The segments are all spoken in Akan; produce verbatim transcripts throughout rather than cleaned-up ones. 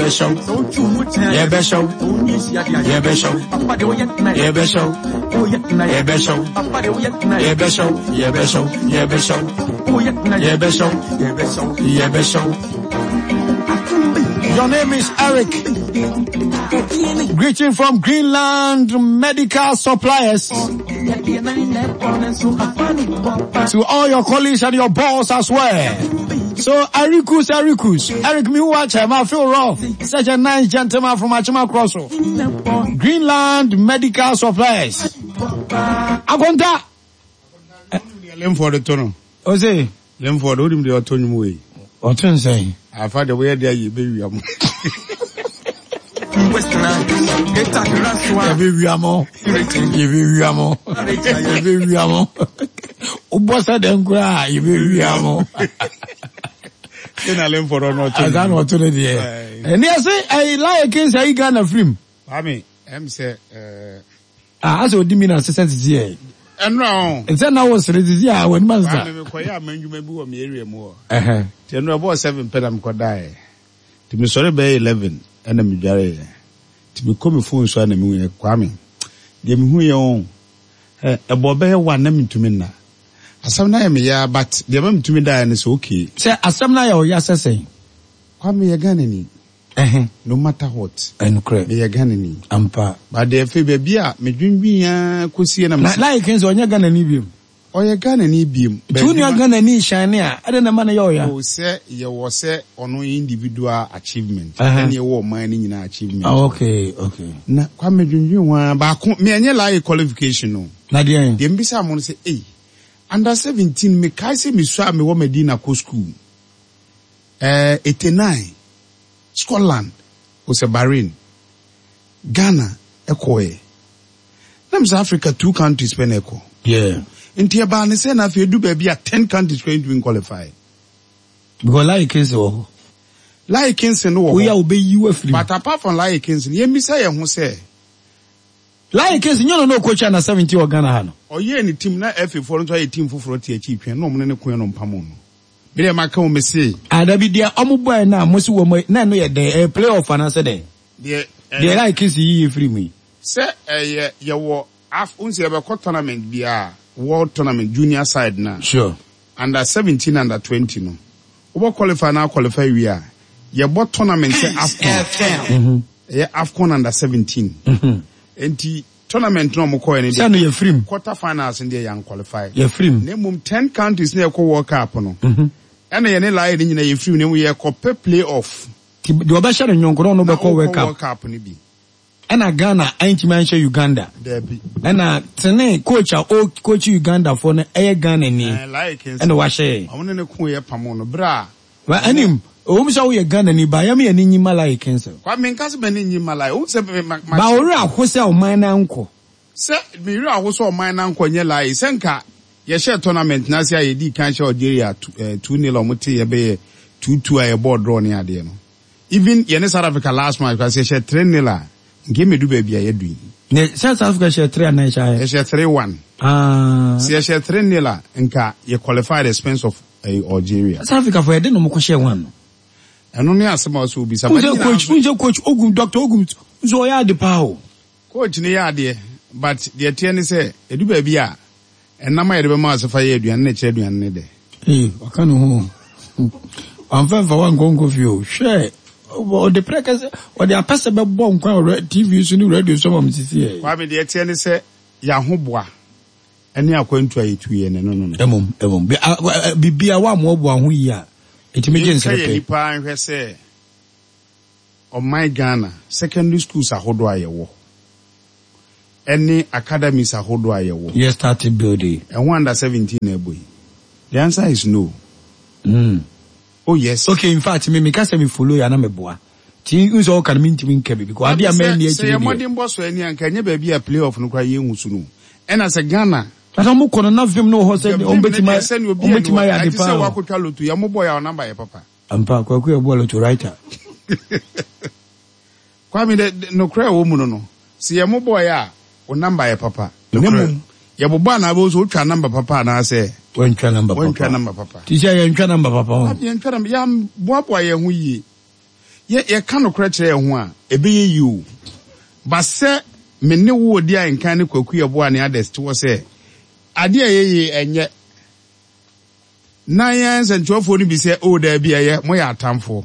Yɛbɛhyɛw, yɛbɛhyɛw, yɛbɛhyɛw, yɛbɛhyɛw, yɛbɛhyɛw, yɛbɛhyɛw, yɛbɛhyɛw, yɛbɛhyɛw, yɛbɛhyɛw, yɛbɛhyɛw. Your name is Eric. Greeting from Greenland Medical Suppliers. To all your colleagues and your boss as well. So Ericus, Ericus, Eric Miwache, I feel rough. Such a nice gentleman from Achima Crosso. Greenland Medical Suppliers. Akonta. Lemford to no. Ose. Lemford, wonim deɛ ɔtɔ nnwom wei. Ɔto nsɛn. Afa deɛ woyɛ deɛ yɛ bɛwia mo. Yɛbɛwia mo. Yɛbɛwia mo. Yɛbɛwia mo. Wobɔ sɛ dɛn koraa yɛbɛwia mo. Sɛ na Lemford ɔno ɔtɔ Asa na ɔto no deɛ. Ɛne ɛse ɛyi Lion King sɛ ayi Ghana firim. Kwame, ɛm sɛ ɛɛ. Ah, asɛ odi mi na sesɛ sisi yɛ. Ɛnura o. Nsɛ na wo sere sisi a w'anim asesa. Kwame mekɔyɛ ama ndwuma bi wɔ me area mu hɔ. Ɛhɛn. Nti ɛnura bɔɔ seven pɛ na mekɔdaeɛ. Nti mesɔre bɛyɛ eleven ɛna medwareeɛ. Nti mekɔ me phone so a na mehu yɛ Kwame. Deɛ mehu yɛ o. Ɛ ɛbɔ bɛyɛ one na mentumi nna. Asɛm no ayɛ me ya but deɛ ma metumi daeɛ no sɛ okay. Sɛ asɛm no ayɛ wo ya sɛ sɛn? Kwame yɛ Ghana ni. Ɛhɛn. No matter what. Ɛnokorɛ. Meyɛ Ghana ni. Ampa. But deɛ afei baabi a medwendwen ara kɔsie na Na mesɛ. Lion King sɛ ɔnyɛ Ghana ni biom. Ɔyɛ Ghana ni biom. Nti wo nua Ghana ni shine a ɛdɛn na ɛma no yɛ ɔya? O sɛ yɛwɔ sɛ ɔno individual achievement. Ɛhɛn. Ɛne yɛwɔ ɔman no nyinaa achievement. Ah, okay, okay. Na Kwame dwendwen ho ara baako me ɛnyɛ Lion qualification no. Na deɛn? Deɛ mbisa mo no sɛ ei under seventeen mekae sɛ mesua a mewɔ Medina kɔ school. Eh, eighty nine Scotland o sɛ Bahrain Ghana ɛkɔɛ. Na mesɛ Africa two countries pɛ na ɛkɔ. Yeah. Nti ɛbaa ne sɛ na afei edu baabi a ten countries kora ntumi qualify. Because Lion Kingston wɔ hɔ. Lion Kingston no wɔ hɔ. Woyɛ a wobɛyi wo afiri mu. But apart from Lion Kingston, yɛmmisa yɛn ho sɛ. Lion Kingston nyɛ no na ɔkɔkyi under seventeen wɔ Ghana ha no. Ɔyɛɛ ne team na F A foɔ no nso ayɛ team foforɔ te akyi twɛn na ɔmo ne ne koɛ no mpamo no. Me deɛ maka wo me se. Ah dabi deɛ ɔmo bɔɛ na mo se wɔn na ɛno yɛ dɛn ɛyɛ play off anaasɛ dɛn? Deɛ Deɛ Lion Kingston yiyi firi mu yi. Sɛ ɛyɛ yɛwɔ af n sɛ yɛbɛkɔ tournament biara world tournament junior side na. Sure. Under seventeen under twenty no. Wobɔ qualify na qualify wie a yɛbɔ tournament sɛ AFCON. Mm-hmm. Ɛyɛ AFCON under seventeen. Mm-hmm. Enti tournament no ɔmo kɔɛ no Sɛ no yɛ firim. Quarter finals no deɛ yɛn qualify. Yɛ firim. Na mmom ten countries na yɛkɔ World Cup no. Mm-hmm. Ɛna yɛne Lion no nyinaa yɛ firim na mmom yɛkɔ pɛ play off. Ti deɛ ɔbɛhyɛ no nyɔnko na ɔno Na bɛkɔ World ɔkɔ Cup. World Cup no bi. Ɛna Ghana antumi anhyɛ Uganda. Dabi. Ɛna tene coach a o coach Uganda foɔ no ɛyɛ Ghana ni. Ɛɛ Lion Kingston. Ɛna wahyɛ yɛn. Ɔmo ne ne ko yɛ pamo no bere a. Wa anim owom sɛ woyɛ Ghana ni ba yɛm yɛ ne nyi ma Lion Kingston. Kwame nka sɛ m'ani nyi ma Lion. Wohu sɛ me ma ma. Ba owura aho sɛ ɔman na nkɔ. Sɛ me wura aho sɛ ɔman na nkɔ nyɛ Lion sɛ nka yɛhyɛ tournament na ase a yɛdi kan hyɛ Algeria two nil a ɔmo te yɛbɛyɛ two two a yɛbɔɔ draw ne adeɛ no. Even yɛne South Africa last match kasi yɛhyɛ three nil a nke medu baabi a yɛdu yi. Ne sɛ South Africa hyɛ three anan hyɛ ayɛ. Yɛhyɛ three one. Ah. Sɛ yɛhyɛ three nil a nka yɛ qualify the expense of eh, Algeria. South Africa fo yɛde na ɔmo kɔ hyɛ one no. Ɛno ne asɛm a ɔsɛ obisa. Wọ́n coach wọ́n coach Ogum Doctor Ogum nso ɔyɛ ade paa o. Coach ne yɛ adeɛ but deɛ teɛ ne sɛ edu baabi a ɛnam a yɛde bɛma ase fa yɛ aduane na ɛkyerɛ aduane ne dɛ. Ee waka ne ho wamfa mfa wankɔ nkɔ fie o hwɛ ɔde pɛrɛ kɛsɛ ɔde apɛsɛ bɛbɔ nkwan wɔ T V so ne radio so ma mo sisi yɛ. Kwame deɛ teɛ ne sɛ yɛahoboa ɛne akwantu a yɛtu yɛ ne no no no. Ɛmom ɛmom biribi a wamoaboa ho yie a ɛtumi gye nsɛm pɛ. Yɛnhwɛ yɛ nipa nhwɛ sɛ ɔman Ghana secondary schools ahodoɔ a yɛwɔ ɛne academies ahodoɔ a yɛwɔ. Yɛ start building. Ɛho under seventeen na ɛbɔ yi. The answer is no. Mm. Oh yes. Okay, in fact, me me kasa me follow ya na me boa. Ti nso ɔka no mentumi nka bi because ade a mɛnni akyiri deɛ. Sɛ yɛ mmɔden bɔ so ani anka ɛnyɛ baabi a play off no koraa yɛnhu so no. Ɛna sɛ Ghana. Na sɛ ɔmo kɔ no na vim no wɔ hɔ sɛ ɔmo bɛtumi ɔmo bɛtumi ayɛ ade paa. Ɛte sɛ wakotwa loto yɛ mo bɔ yɛ a ɔnamba yɛ papa. Ampa Kwaku yɛ bɔ loto writer. Kwame de nokorɛ a ɛwɔ mu no no sɛ yɛ mo bɔ yɛ a ɔnamba yɛ papa. Ne mmom yɛ bobɔ anaa bɛ so otwa namba papa anaasɛ. Wɔntwa namba papa. Wɔntwa namba papa. Ti sɛ yɛntwa namba papa ho. Yɛntwa namba yɛn boaboa yɛn ho yie. Yɛ yɛka nokorɛ kyerɛ yɛn ho a, ɛbɛyɛ yie o. But sɛ me ne wo odi a nkan ne Kwaku Yeboah ne others te hɔ sɛ adeɛ a ɛyɛ yie ɛnyɛ. Na yɛn nsɛntwerɛfoɔ no bi sɛ oh daabi ɛyɛ, moyɛ atamfoɔ.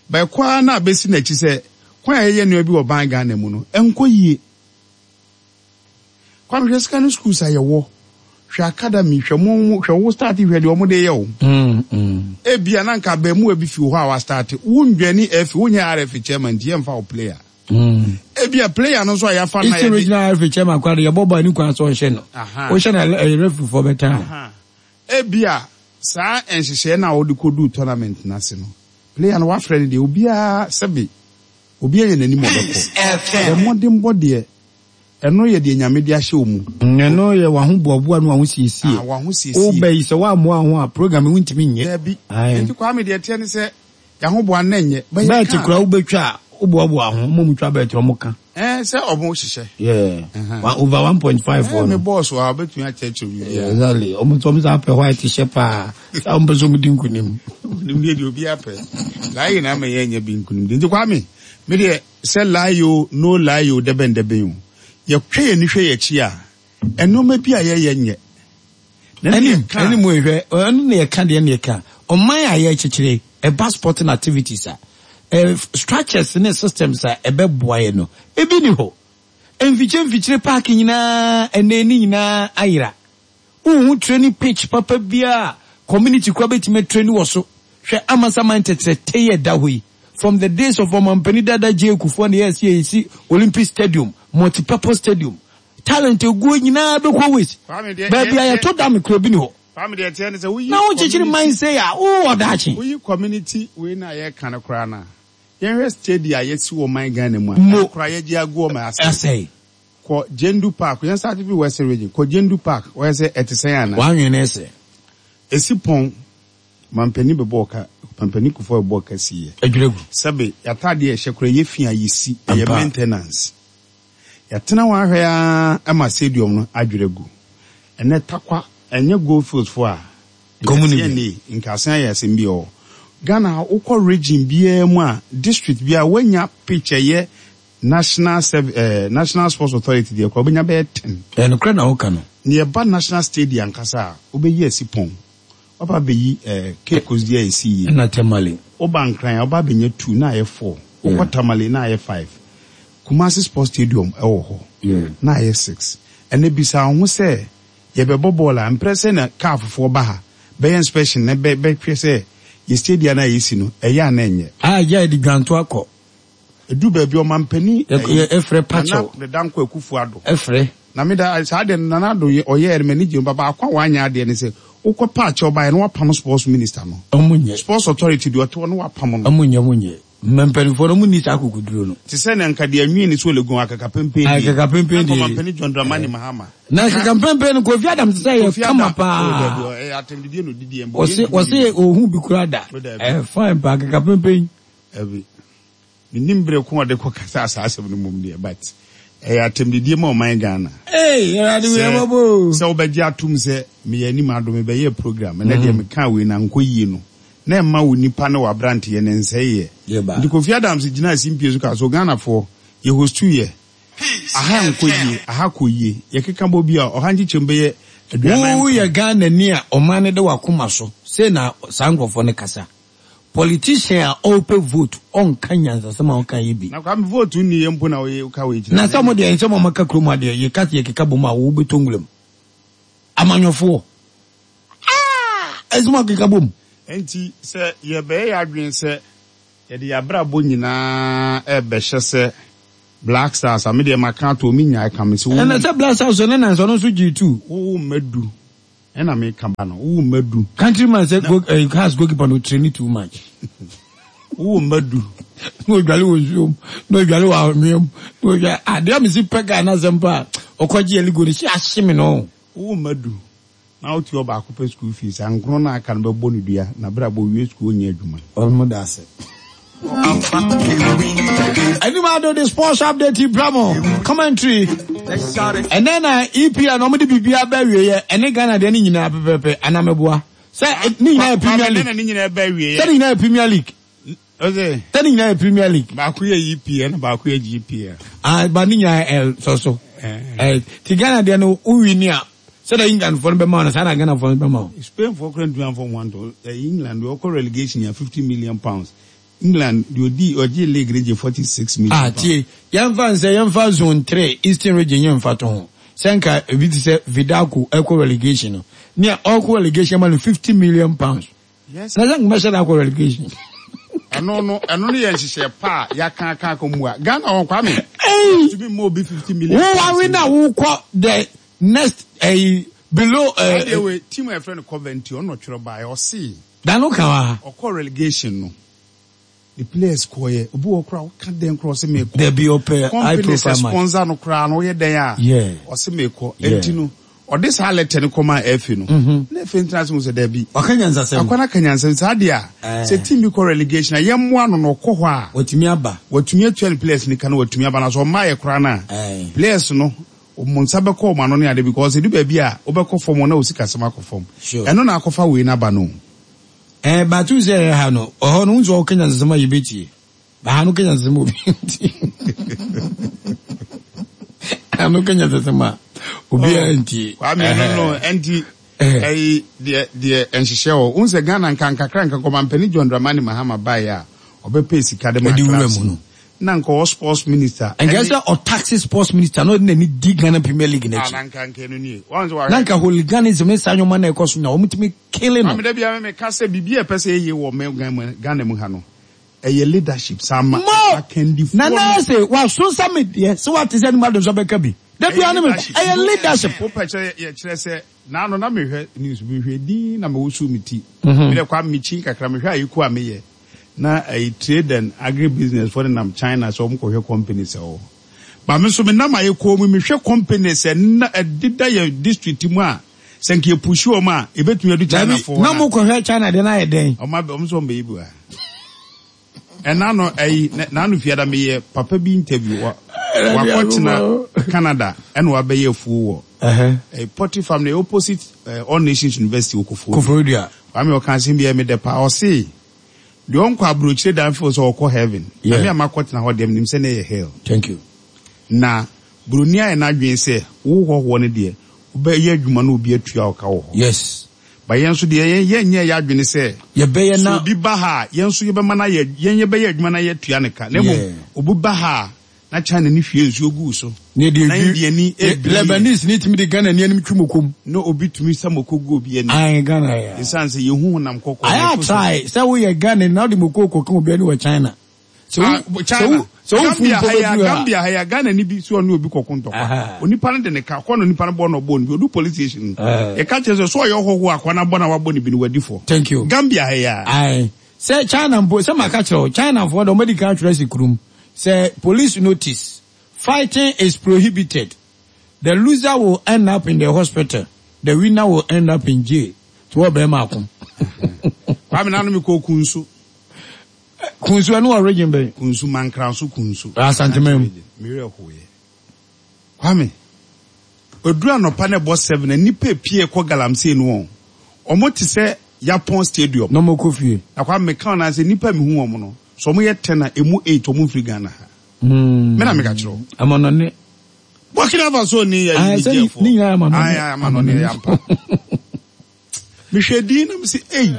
But ɛkɔ ara na abɛsi n'akyi sɛ kwan a yɛyɛ nneɛma bi wɔ ban Ghana mu no, ɛnkɔ yie. Kwame hwɛ sika no schools a yɛwɔ, hwɛ academy, hwɛ mo hwɛ wo start hwɛ deɛ ɔmo de yɛ o. Mm, mm. Ebia na nka abɛɛmuwa bi fi wɔ hɔ a wa start, wondwani F A, wonyɛ R F A chairman nti yɛmfa wo player. Mm. Ebia player no nso a yɛafa no a Eastern yɛde Regional R F A chairman koraa de yɛbɔ bɔ ani kwan sɛ ɔnhyɛ no. Aha. Wohyɛ no ɛyɛ referee foɔ bɛtan. Aha. Ebia saa nhyehyɛe no a wɔde kɔduu tournament no ase no, player no wafrɛ no deɛ obiara sɛbe obiara yɛ n'anim ɔbɛkɔ. Yɛ mmɔdenbɔ deɛ ɛno yɛ deɛ Nyame de ahyɛ wo mu. Ɛno yɛ w'ahoboaboa ne w'ahosiesie. Ah, w'ahosiesie. Woba yi sɛ woammoa wo ho a program yi wontumi nyɛ. Daabi. Aye. Nti Kwame deɛ ɛteɛ ne sɛ yɛahoboa no nyɛ. Bɛyɛ Bɛɛte ka. koraa wobɛtwa a woboaboa ho, mo mu twa bɛɛte ɔmo ka. Eh, sɛ ɔmo hyehyɛ. Yeah. Uh-huh. One, over one point five Eh, foɔ me no. boss wɔ ha wobɛtumi akyerɛkyerɛ Yeah, biribiara. exactly. Ɔmo nso ɔmo san pɛ white hyɛ paa. Sɛ ɔmo pɛ sɛ ɔmo di nkunim. Nkunimdie deɛ obiara pɛ. Lie na ama yɛnyɛ bi nkunimdie. Nti Kwame, me deɛ sɛ lie o, no lie o, dɛbɛn dɛbɛn o. Yɛhwɛ yɛn ni hwɛ yɛn akyi a, ɛnneɛma bi a yɛyɛ nyɛ. Na ne Ɛnim yɛka- ɛnim ehwɛ ɛno na yɛka deɛ na yɛka ɔman a yɛkyekyere ɛba sporting activities a ɛ structures ne systems a ɛbɛboa yɛ no ebi ni hɔ. Mfikyire mfikyire park nyinaa ɛnɛ ni nyinaa ayera. Wohu training pitch papa biara community kora bɛtumi training wɔ so. Hwɛ Amasaman tɛtrɛtɛ yɛ da hɔ yi from the days of ɔmampanin dada J Kufuor na yɛsi yɛsi Olympic Stadium, multi-purpose stadium, talent eguo nyinaa bɛkɔ waste. Kwame, deɛ- Baabi a deɛ- yɛto dam kura bi ni hɔ. Kwame deɛ ɛteɛ ne sɛ woyi Na wokyekyere man sɛ a wowɔ daakye. Woyi community wei na yɛka no koraa no a, yɛhwɛ stadium a yɛsi wɔ man Ghana mu a, Mo. ɛno koraa yɛgye agu ɔma ase. Asɛe. Kɔ Gyedu Park, yɛn start fi Western Region, kɔ Gyedu Park, wɔyɛ sɛ ɛte sɛn ana? Wanwene sɛ Esi pɔn, mampanin bɛbɔ ɔka, mampanin Kufuor bɛbɔ ɔka si yɛ. Adwiragu. Sɛbe, yɛataadeɛ a ɛhyɛ koraa yɛ fi a yɛsi, ɛyɛ Ampa. maintenance. Yɛtena hɔ ahwɛ ara ama stadium no adwira gu. Ɛnɛ Takwa, ɛnyɛ Goldfields fo a, Nkɔmmɔ ni bi. nka nka asen ayɛ asɛm bi wɔ hɔ. Ghana ha, wokɔ region biara mu a, district biara, woanya pitch ɛyɛ National Serv eh, National Sports Authority deɛ koraa, wobɛnya bɛyɛ ten. Ɛnokorɛ na woka no. Ne yɛba National Stadium ankasa a, wobɛyi asi pɔn. Waba abɛyi eh, Cape Coast deɛ a ɛsi yie. Ɛna Tamale. Woba Nkran a, woba abɛnya two na ayɛ four. Wokɔ Yeah. Tamale na ayɛ five. Kumasi Sports Stadium ɛwɔ hɔ Yeah. na ayɛ six. Ɛnɛ bisa wo ho sɛ yɛbɛbɔ bɔɔl a mprɛ sɛ na kaa fofoɔ ba ha bɛyɛ inspection na bɛ bɛhwɛ sɛ yɛ stadium no a yɛsi no ɛyɛ a na ɛnyɛ. A gya yɛde dwanto akɔ. Ɛdu baabi ɔmampanin Yɛ- yɛ- ɛfrɛ pakyɛw. Nana Dankwa Akufo Addo. Ɛfrɛ. Na meda saa deɛ no Nana Addo yɛ ɔyɛɛ no m'ani gye ho. Baako a wanyɛ adeɛ ne sɛ wokɔ paakyɛw baeɛ na wapam sports minister no. Ɔmo nyɛ. Sports Authority deɛ ɔte hɔ no wapam no. Ɔmo nyɛ, ɔmo nyɛ. Mma mpanimfoɔ no ɔmo ni saa akokoduro no. Te sɛ ne nka deɛ nwi ne so Legon akaka pempen. Akaka pempen deɛ. Ɔmampanin John Dramani Mahama. Na akaka pempen no Kofi Adams sɛ yɛ Kofi kama Adams. paa. Oh, dabi, ɛyɛ atɛmdidie na odidi yɛn bɔ. Wɔse wɔse ohun bi kura da. Oh, dabi. Ɛyɛ fine paa akaka pempen. Ɛbi menim bere ko a ɔde kɔ kasa saa asɛm no mom deɛ, but ɛyɛ atɛmdidie ma ɔman Ghana. Ee, Awurade wei Sɛ- ɛmɔbɔ o. Sɛ wobɛgye atom sɛ meyɛ anim ado mebɛyɛ program ɛnɛ deɛ meka wei na nkɔ yie no na ɛma wo nipa ne w'aberanteɛ ne nsɛeɛ. Yɛba. Nti Kofi Adams gyina simpie so ka so Ghanafoɔ yɛ host yɛ aha nkɔ yie, aha kɔ yie, yɛkeka bɔ bi a ɔha nkyekyɛm bɛyɛ aduanan. Woyɛ Ghana ni a ɔman no de wakoma so sei na saa nkurɔfoɔ no kasa. Politician a ɔrepɛ vote ɔnka nyansasɛm a ɔnka yɛ bi. Na Kwame vote nni yɛ mpo na woyɛ woka wei kyerɛ. Na sɛ mo deɛ nsɛm a ɔmaka kurom adeɛ yɛka sɛ yɛkeka bɔ mu a wobɛtɔ nwuram amanyɔfoɔ. Ah! Ɛsɛ mo akeka bɔ mu. Nti sɛ yɛbɛyɛ yɛ adwene sɛ yɛde yɛabrabɔ nyinaa ɛbɛhyɛ sɛ Black Stars a medeɛ maka ato mi nyaa ka me sɛ wo Ɛna sɛ Black Stars ne nansa ɔno nso gyee two. Wowo mma du ɛna meka ba no wowo mma du. Countryman sɛ go eh, Hearts goalkeeper no train too much. Wowo mma du. Na odwale wɔ nsuom na odwale wɔ anwea mu na odwale adeɛ a mesi pɛ gaa n'asɛm pa a ɔkɔgye ɛligo no si ahye me no. Wowo mma du na wote ɔbaako pɛ school fees a nkron na aka no bɛbɔ no dua na berɛ a bɔwie school ɔnyɛ adwuma. Ɔmo da ase. Anim ado de sports update bramo commentary ɛnɛ na E P L na ɔmo de biribi aba awieɛ ɛne Ghana deɛ ne nyinaa pɛpɛpɛ anamɛboa sɛ ne nyinaa yɛ Premier League. Ne nyinaa bɛ awieɛ. Sɛ ne nyinaa yɛ Premier League. Ɔsɛ Sɛ ne nyinaa yɛ Premier League. Baako yɛ E P L na baako yɛ G P L. Ah, ba ne nyinaa yɛ L sɔ so. Eh. Eh, ti Ghana deɛ no, wowi ni a, sɛdeɛ England foɔ no bɛma wo no, saa na Ghana foɔ no bɛma wo. Spain foɔ kora ntumi amfa wɔn anto. Eh, England deɛ ɔkɔ relegation yɛ fifty million pounds. England deɛ odi ɔgye league no gye forty six million Ah, pounds. Tie, yɛmfa nsɛ yɛmfa zone three, Eastern Region, yɛmfa to ho sɛ nka ebi te sɛ Vidako ɛkɔ relegation no, nea ɔkɔ relegation ma no fifty million pounds. Yes. Na sɛ nkɔmɛhyɛ da akɔ relegation. ɛno no ɛno no yɛ nhyehyɛ pa a yɛaka aka aka mu a Ghana wɔ, Kwame, Hey! tumi ma obi fifty million Wo pounds. wawe na wokɔ the next eh, below eh, Adeɛ wei, team a yɛfrɛ no Coventry, ɔno ɔtwerɛ baeɛ, ɔse dano ka wa. Ɔkɔ relegation no, the players kɔɔyɛ, obi wɔ koraa ɔka dɛn koraa, ɔsɛ mekɔ. Dabi, ɔpɛ high Company sɛ profile match. Sponsor no koraa no, woyɛ dɛn a, Yeah. ɔsɛ mekɔ. Yeah. Enti no ɔde saa letter no kɔma F A no na F A ntena ase hu sɛ dabi. Ɔka nyansasɛm. Akwana ka nyansɛm saa deɛ a Eh. sɛ team bi kɔ relegation a, yɛmmoa no na ɔkɔ hɔ a, wɔtumi aba. Watumi atua ne players ni ka na watumi aba na sɛ ɔmma yɛ koraa no a, Eh. players no ɔmo nsa bɛkɔ ɔmo ano ne ade, because edu baabi a wobɛkɔ fam na osi kasɛm akɔ fam. Sure. Ɛno na akɔfa wei n'aba no. Eh, batu sɛ ɛyɛ ha no, ɔhɔ no nso ɔka nyansasɛm a yɛbɛtie, ba ha no ka nyansasɛm a obi ntie. Ha no ka nyansasɛm a obiara ntie. Kwame, ɛno no ɛnti Eh. ɛyi deɛ deɛ nhyehyɛ wɔ n sɛ Ghana nka nkakra nka nkɔmampanin John Dramani Mahama baeɛ a, ɔbɛpɛ sika de ma Ɛde wura clubs mu no. Na nka ɔwɔ sports minister. Nka sɛ ɔtaxe sports minister na ɔde n'ani di Ghana Premier League Ah, n'akyi. na nka nka no nie wɔn sɛ Na wahwɛ. nka hooliganism ne saa nneɛma na ɛkɔ so na wɔn kele no. Maame, dabi a meka sɛ biribi a ɛpɛ sɛ ɛyɛ wɔ mɛ Ghana mu ha no, ɛyɛ leadership saa ma Mo akandifoɔ nana no. Sɛ waso nsa mi deɛ sɛ wate sɛ nimu adonso bɛka bi dabi a ne mi ɛyɛ leadership. Wopɛ kyerɛ yɛkyerɛ sɛ naano na mehwɛ news bi, mehwɛ din na mewosu me ti. Mhm. Mede kwa mekyi kakra, mehwɛ ayiko a meyɛ na ɛyɛ trade and agri business fo ne nam China sɛ ɔmo kɔhwɛ companies ɛwɔ hɔ ba. Me nso menam ayiko mu mehwɛ companies ɛna ɛdeda yɛ district mu a, sɛ nka yɛpush wɔn a, ebɛtumi adu China Dabi fo na mo kɔhwɛ China deɛ n'ayɛ dɛn? Ɔmo abɛ ɔmo sɛ ɔmo bɛyi bi wa ɛna no ɛyi n'ano fiada meyɛ papa bi interview wa wakɔtena Canada ɛna wabɛyɛ afuo wɔ ɛɛ poultry farm na opposite ɛɛ All Nations University wɔ Koforidua. Koforidua. Kwame, ɔka asɛm bi a ɛmi dɛ paa. Ɔse deɛ ɔnkɔ aburokyire dan feel sɛ ɔkɔ heaven. Yeah. Na mi a ma kɔtena hɔ deɛ, menim sɛ ne yɛ hell. Thank you. Na buroni ayɛ n'adwene sɛ wo hɔhoɔ no deɛ, wobɛyɛ adwuma na obi atua ɔka wɔ hɔ. Yes. Ba yɛn nso deɛ, yɛn yɛn nyɛ yɛ adwene sɛ yɛbɛyɛ sɛ na obi ba ha a, yɛn nso yɛbɛma no ayɛ, yɛn yɛbɛyɛ adwuma na yɛatua ne ka, na mmom Yeah. obi ba ha a, na China ni hwie nsuo gu so ne de na India ni ebiri. Lebanese ne tumi de Ghana ni anim twi mo kom. Na obi tumi sɛ moko gu obi ani. Ayi Ghana yɛ. Ɛsiane sɛ yɛhu honam kɔkɔɔ. Ayɛ atry sɛ woyɛ Ghana na wode moko kɔka obi ani wɔ China. Sɛ Ah, wo China, sɛ wo fu Gambia mpo ha ya bɛduru a Gambia ha ya, Ghana ni bi so ɔne obi kɔko ntɔkwa. Aha. Onipa no de ne ka kɔ na onipa no bɔ na ɔbɔ no bi, odu police station no, Eh. yɛka kyerɛ sɛ so ɔyɛ ɔhɔho akwa na bɔ na wabɔ ne bi no, wadi fɔ. Thank you. Gambia ha ya. Ayi sɛ China mpo, sɛ maka kyerɛ wo, China foɔ de ɔmadi kan atwerɛ si kurom sɛ police notice: fighting is prohibited, the loser will end up in the hospital, the winner will end up in jail. Tí wọ́n bɛrɛ ma ko. Kwame, nanu mi kɔ Kunsu. Kunsu, ɛnu wɔ region bɛn? Kunsu, Mankranso Kunsu. Asanteman mu. Mmerɛ hoyɛ, Kwame, oduru anɔpa na ɛbɔ seven na nipa epie kɔ galamsey no, wɔn ɔmo te sɛ Yapon Stadium. Na ɔmo kɔ fie. Na Kwame, meka wɔn ase, nipa mi hu wɔn no so, ɔmo yɛ ten a, emu eight ɔmo nfiri Ghana ha. Hmm. Me na meka kyerɛ wo. Amanɔne. Burkina Faso ni yɛ Ah, sɛ Nigerfoɔ. ne nyinaa amanɔne. Ayi, amanɔne yɛ ampa. Mehwɛ din na mesi eyi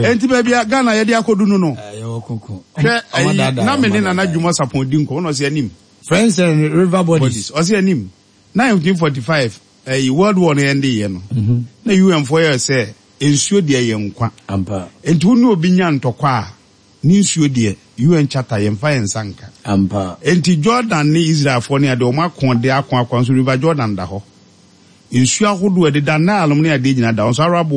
enti baabi a Ghana yɛde akɔdu no no Yɛwɔ koko. Hwɛ ɛyi, na me ne Nana Dwuma Sapɔn di nkɔmɔ na ɔsi anim Friends and river bodies. Bodies, ɔsi anim nineteen forty-five ɛyi World War no yɛn de yɛ no na U N foɔ yɛ sɛ nsuo deɛ yɛ nkwa. Ampa. Nti wo ne obi nya ntɔkwa a, ne nsuo deɛ, U N Charter, yɛmfa yɛn nsa nka. Ampa. Nti Jordan ne Israelfoɔ ne adeɛ, wɔn ako de ako ako nso, River Jordan da hɔ, nsuo ahodoɔ ɛdeda Nile nom ne adeɛ nyinaa da hɔ nso, Arab world.